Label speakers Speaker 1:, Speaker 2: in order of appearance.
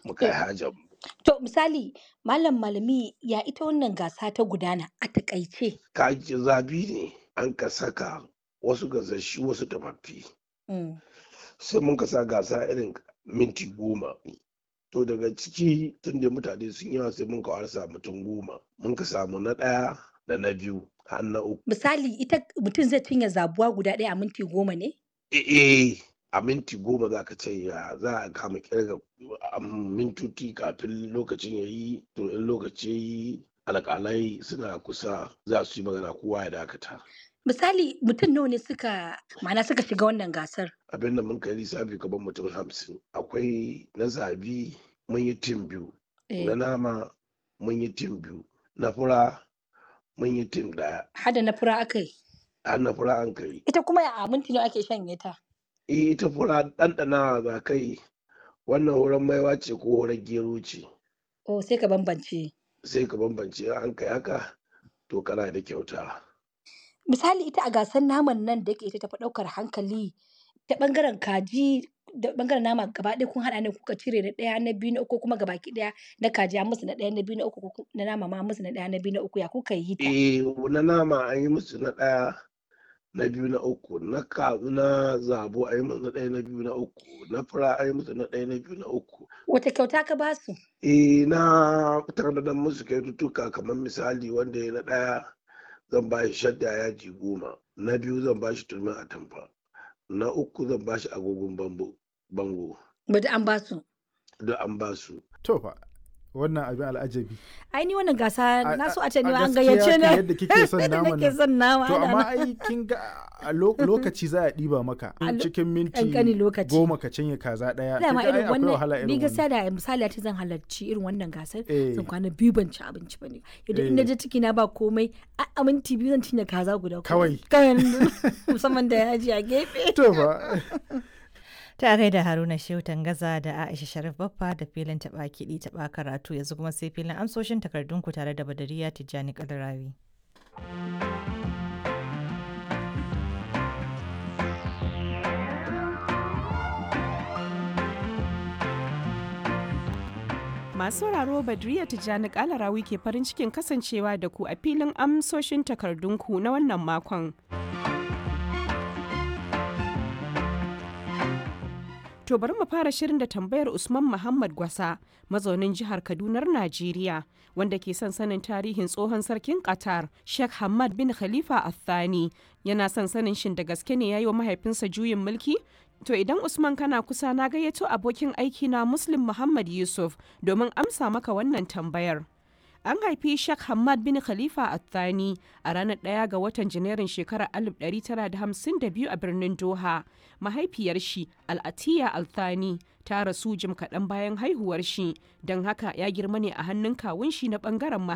Speaker 1: Mu kai hajar mu.
Speaker 2: To misali Malam Malami, ya ita wannan gasa ta gudana a takaice?
Speaker 1: Kaji zabi ne an ka saka wasu gasasshu, wasu tafaffi. Sai mun ka sa gasa irin minti 10. To daga ciki, tun da mutane sun yawa, sai mun ka warsa mutum 10. Mun ka samu na ɗaya da na biyu har na uku.
Speaker 2: Misali, ita mutum zai cinye zabuwa guda ɗaya a minti 10 ne?
Speaker 1: Eh, a minti 10 za ka ce ya za a kama kirga mintoci kafin lokacin ya yi. To in lokaci ya yi, alƙalai suna kusa, za su yi magana, kowa ya dakata.
Speaker 2: Misali, mutum nawa ne suka, ma'ana, suka shiga wannan gasar?
Speaker 1: Abin da mun kai lissafi, kamar mutum 50. Akwai na zabi, mun yi team biyu. Na nama mun yi team biyu. Na fura mun yi team ɗaya.
Speaker 2: Hada na fura aka yi?
Speaker 1: Har na fura an kai.
Speaker 2: Ita kuma a minti nawa ake shanye ta?
Speaker 1: Eh, ita fura ɗanɗanawa za kai, wannan hurar maiwa ce ko hurar gero ce.
Speaker 2: Oh, sai ka bambance.
Speaker 1: Sai ka bambance. In an kai haka, to kana da kyauta.
Speaker 2: Misali, ita a gasar naman nan da yake ita tafi ɗaukar hankali, ta ɓangaren kaji da ɓangaren nama gaba ɗaya kun haɗa ne kuka cire na ɗaya, na biyu, na uku, kuma gabaki ɗaya na kaji an musu na ɗaya, na biyu, na uku, na nama ma an musu na ɗaya, na biyu, na uku, ya kuka yi ta?
Speaker 1: Eh, na nama an yi musu na ɗaya, na biyu, na uku. Na ka na zabo an yi musu na ɗaya, na biyu, na uku. Na fura an yi musu na ɗaya, na biyu, na uku.
Speaker 2: Wace kyauta ka ba su?
Speaker 1: Eh, na tanadar musu kyaututtuka, kamar misali, wanda ya na ɗaya zan ba shi shadda yaji 10, na biyu zan ba shi turmin atamfa, na uku zan ba shi agogon bango.
Speaker 2: Ba an ba su.
Speaker 1: Duk an ba su.
Speaker 3: To fa, wannan abin al'ajabi.
Speaker 4: Ai ni wannan gasa na so a ce ni ma an
Speaker 3: gaskiya
Speaker 4: gayyace
Speaker 3: kan
Speaker 4: ni.
Speaker 3: Yadda kike son
Speaker 4: Yadda
Speaker 3: naman
Speaker 4: nake
Speaker 3: nan.
Speaker 4: son nama
Speaker 3: To
Speaker 4: ana
Speaker 3: amma
Speaker 4: nan.
Speaker 3: ai kin ga a lokaci za a ɗiba maka
Speaker 4: A
Speaker 3: cikin minti
Speaker 4: ƙanƙanin lokaci.
Speaker 3: 10 ka cinye kaza ɗaya. Kin
Speaker 4: Dama
Speaker 3: ga ai
Speaker 4: irin
Speaker 3: akwai wahala
Speaker 4: wannan,
Speaker 3: irin
Speaker 4: ni gaskiya
Speaker 3: wannan.
Speaker 4: da misali a ce zan halarci irin wannan gasar, zan kwana biyu ban ci abinci ba ne. Yadda in naje ciki na ba komai, a minti 2 zan cinye kaza guda
Speaker 3: Kawai.
Speaker 4: Kawai, musamman da yaji a gefe.
Speaker 3: To fa.
Speaker 5: Ta gaida Haruna Shehu Tangaza da Aisha Sharif Baffa da filin taɓa kiɗi taɓa karatu. Yanzu kuma sai filin amsoshin takardunku tare da Badariya Tijjani Kalarawi.
Speaker 6: Masu sauraro, Badriya Tijjani Kalarawi ke farin cikin kasancewa da ku a filin amsoshin takardunku na wannan makon. To bari mu fara shirin da tambayar Usman Muhammad Gwasa, mazaunin jihar Kadunar Najeriya, wanda ke son sanin tarihin tsohon sarkin Qatar, Sheikh Hamad bin Khalifa Al-Thani. Yana son sanin shin da gaske ne ya yi wa mahaifinsa juyin mulki? To idan Usman kana kusa, na gayyato abokin aiki na Muslim Muhammad Yusuf domin amsa maka wannan tambayar. An haifi Sheikh Hamad bin Khalifa Al-Thani a ranar 1 ga watan Janairun shekarar 1952 a birnin Doha. Mahaifiyar shi, Al-Atiya Al-Thani, ta rasu jim kaɗan bayan haihuwar shi, don haka ya girma ne a hannun kawun shi na ɓangaren mahaifi.